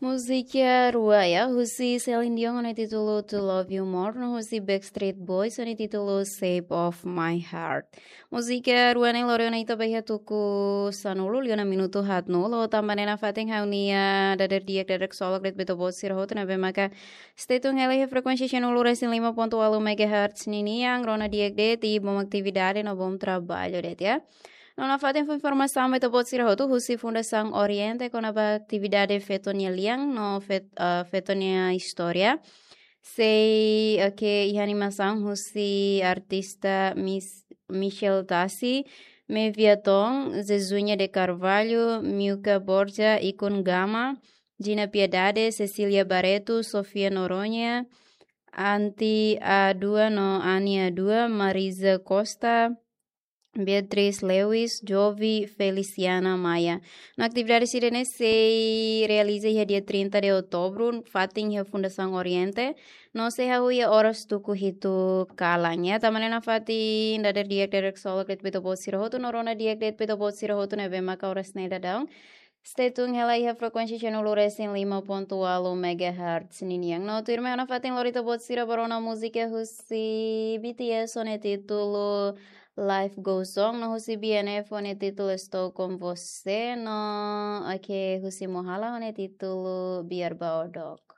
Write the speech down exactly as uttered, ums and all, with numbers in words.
Múzika rua ya, husi Celine Dion ho nia títulu To Love You More, no husi Backstreet Boys ho nia títulu Shape of My Heart. Múzika rua ne'e lori ona ita ba iha tuku sanulu, liu ona minutu haatnulu, tanba ne'e nafatin ha'u-nia dadeer-di'ak, dadeer-ksolok de'it ba ita-boot sira hotu ne'ebé maka stay tune hela iha frekuénsia sanulu resin lima pontu ualu megahertz ninian, rona di'ak de'it, i bom atividade no bom traballu de'it ya. No nafatin fó informasaun ba ita-boot sira hotu husi Fundasaun Oriente kona-ba atividade feto nia lian no fet, eh, feto nia istória. Sei, oke, iha animasaun husi artista Mis, Michel Tassi, Meviaton, Zezunya de Carvalho, Milka Borja, Ikun Gama, Gina Piedade, Cecília Barreto, Sofia Noronha, Anti Adua no Ani Adua, Marisa Costa, Beatriz Lewis, Jovi, Feliciana Maia. No atividade sira-ne'e sei realiza iha dia trinta de outubro, fatin iha Fundasaun Oriente. No sei hahú iha oras tuku hitu kalan ya. Tanba ne'e nafatin dadeer-di'ak, dadeer-ksolok de'it ba ita-boot sira hotu, no rona di'ak de'it ba ita-boot sira hotu ne'ebé maka oras ne'e daudaun stay tune hela iha frekuénsia sanulu resin lima pontu ualu megahertz ninian. No tuirmai ha'u nafatin lori ita-boot sira ba rona múzika husi B T S ho nia títulu Life Goes On, no husi B N F ho nia títulu Estou Com Você, no oke, husi Mohala ho nia títulu Biar Baodok.